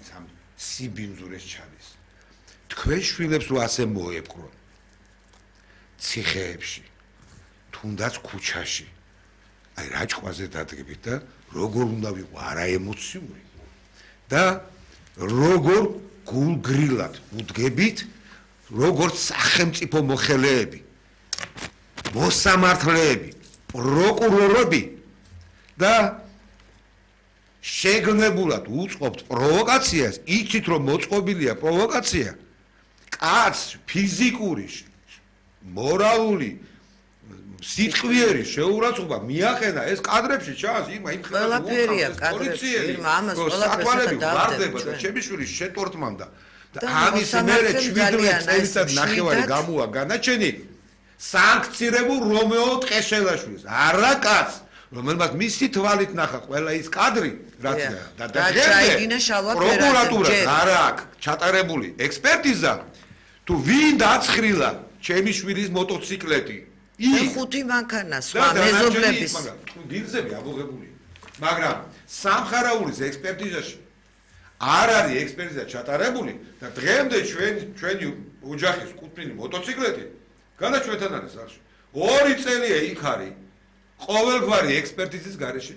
ვინც ამ სიბინძურეს ჩადის. თქვენ შვილებს რო ასე მოეპყრონ. ციხეებში, თუნდაც ქუჩაში. აი რაჭყვაზე დადგებით და როგორ უნდა ვიყო არა ემოციური და როგორ გულგრილად უდგებით როგორც სახელმწიფო მოხელეები მოსამართლეები პროკურორები და შეგნებულად უწყობთ პროვოკაციას იცით რომ მოწყობილია პროვოკაცია კაც ფიზიკური მორალური სიტყვიერი შეურაცხყოფა მიახენა ეს კადრებში ჩანს იმ ყველაფერია კადრებში ამას ყველაფერს დავდება და ჩემი შვილი შეტორტმანდა და ამის მერე 17 წელიწად ნახევარი გამოა განაჩენი სანქცირებულ რომეო ტყეშელაშვილს არა კაც რომელმაც მისი თვალით ნახა ყველა ის კადრი რაც და ჩაიგინა შალვა პროკურატურა არა აქვს ჩატარებული ექსპერტიზა თუ ვინ დაცხრილა ჩემი შვილის მოტოციკლეტი ხუთი მანქანა სხვა მეზობლების დილზები აბოღებული მაგრამ სამხარაულის ექსპერტიზაში არ არის ექსპერტიზა ჩატარებული და დღემდე ჩვენი ოჯახის კუთვნილი მოტოციკლეტი განაჩვენთან არის სახში 2 წელია იქ არის ყოველგვარი ექსპერტიზის გარეშე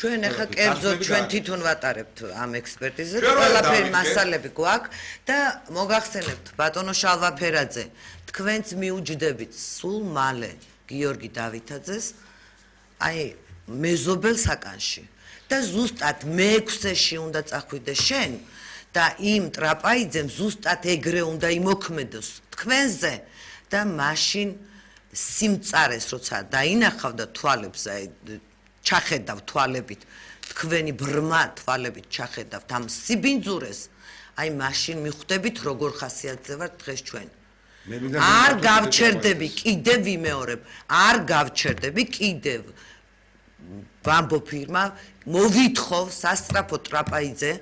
ჩვენ ახლა კერძოდ ჩვენ თვითონ ვატარებთ ამ ექსპერტიზას ყველაფერი მასალები გვაქვს და მოგახსენებთ ბატონო შალვაფერაძე თქვენც მიუჯდებით სულ მალე გიორგი დავითაძეს აი მეზობელ საკანში და ზუსტად მე-6-ში უნდა წახვიდე შენ და იმ ტრაპაიძემ ზუსტად ეგრე უნდა იმოქმედოს თქვენზე და მაშინ სიმწარეს როცა დაინახავდა თვალებს აი ჩახედავ თვალებით თქვენი ბრმა თვალებით ჩახედავთ ამ სიბინძურეს აი მაშინ მიხვდებით როგორ ხასიათზე ვართ დღეს ჩვენ არ გავჩერდები კიდევ ვიმეორებ არ გავჩერდები კიდევ ვამბობ ფირმა მოვითხოვ სასტრაფო ტრაპაიძე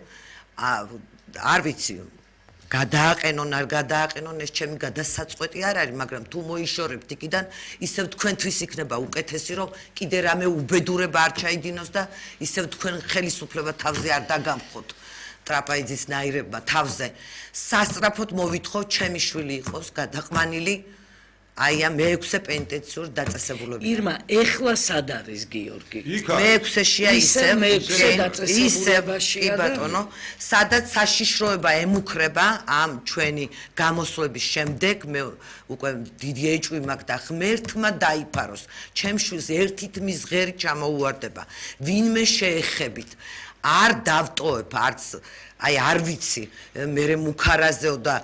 არ ვიცი გადააყენონ არ გადააყენონ ეს ჩემი გადასაწყვეტი არ არის მაგრამ თუ მოიშორებთ იქიდან ისევ თქვენთვის იქნება უკეთესი რომ კიდე რამე უბედურება არ ჩაიდინოს და ისევ თქვენ ხელისუფლება თავზე არ დაგამხოთ ტრაპაიძის ნაირებმა თავზე სასტრაფოდ მოვითხოვ ჩემი შვილი იყოს გადაყმანილი აი ამ მე-6 პენტენციურ დაწესებულებაში ირმა ეხლა სად არის გიორგი მე-6-შია ისე ბატონო სადაც საშიშროება ემუქრება ამ ჩვენი გამოსვლების შემდეგ მე უკვე დიდი ეჭვი მაქვს და ღმერთმა დაიფაროს ჩემს შვილს ერთით მის ღერი ჩამოუვარდება ვინმე შეეხებით არ დავტოვებ არც აი არ ვიცი მე მუქარაზეო და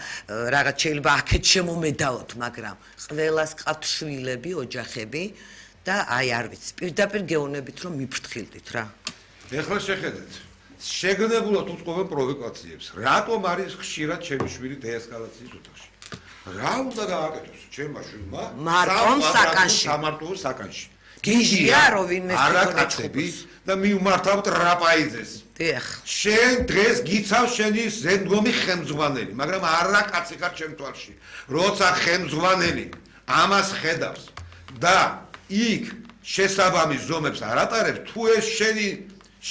რაღაც შეიძლება აქეთ შემომედაოთ მაგრამ ყველას ყავთ შვილები ოჯახები და აი არ ვიცი პირდაპირ გეოვნებით რომ მიფრთხილდით რა ეხლა შეხედეთ შეგნებულად უწყობენ პროვოკაციებს რატომ არის ხშირად ჩემი შვილი დეესკალაციის ოთახში რა უნდა გააკეთოს ჩემმა შვილმა მარტომ საკანში სამარტო საკანში გიჟია რომ ვინმე არაკაცები და მივმართავ ტრაპაიძეს დიახ შენ დღეს გიცავ შენი ზენდგომი ხელმძღვანელი მაგრამ არაკაცი ხარ ჩემ თვალში როცა ხელმძღვანელი ამას ხედავს და იქ შესაბამის ზომებს არ ატარებს თუ ეს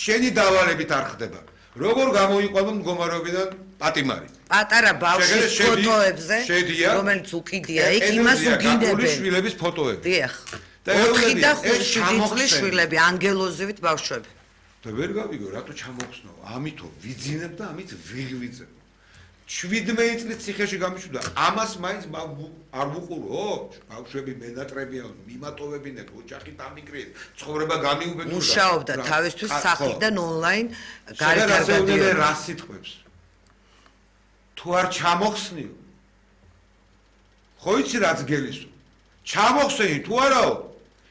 შენი დავალებით არ ხდება როგორ გამოიყვანო მდგომარეობიდან პატიმარი პატარა ბავშვის ფოტოებზე რომელიც უკიდია იქ იმას უგინდებენ შვილების ფოტოები დიახ 4 და 5 წლის შვილები ანგელოზივით ბავშვები და ვერ გავიგო რატო ჩამოხსნო ამითო ვიძინებ და ამით ვიღვიძებ 17 წლის ციხეში გამიშვიდა ამას მაინც არ ვუყურო ბავშვები მენატრებიან მიმატოვებინეთ ოჯახი დამიკრიეთ ცხოვრება გამიუბედურდა მუშაობდა თავისთვის სახლიდან ონლაინ გარდაგვიდე რა სიტყვებს თუ არ ჩამოხსნიო ხო იცი რაც გელისო ჩამოხსენი თუ არაო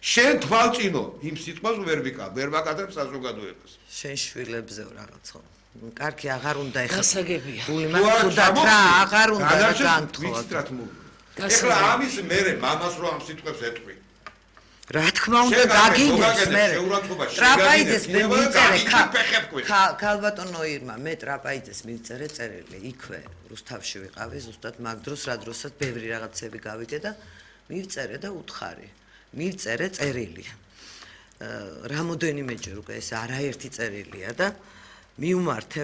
შენ თვალწინო იმ სიტყვას ვერ ვაკადრებ საზოგადოებას შენ შვილებზე რაღაცა კარგი აღარ უნდა გასაგებია გული მაქვს თუდად რა აღარ უნდა განთხოვა ეხლა ამის მერე მამას რო ამ სიტყვებს ეტყვი რა თქმა უნდა გაგინდეს მე ტრაპაიძეს მე მიწერე ქალბატონო ირმა მე ტრაპაიძეს მიწერე წერილი იქვე რუსთავში ვიყავი ზუსტად მაგ დროს რა დროსაც ბევრი რაღაცები გავიგე და მივწერე და უთხარი მივწერე წერილი რამოდენიმეჯერ უკვე ეს არაერთი წერილია და მიუმართე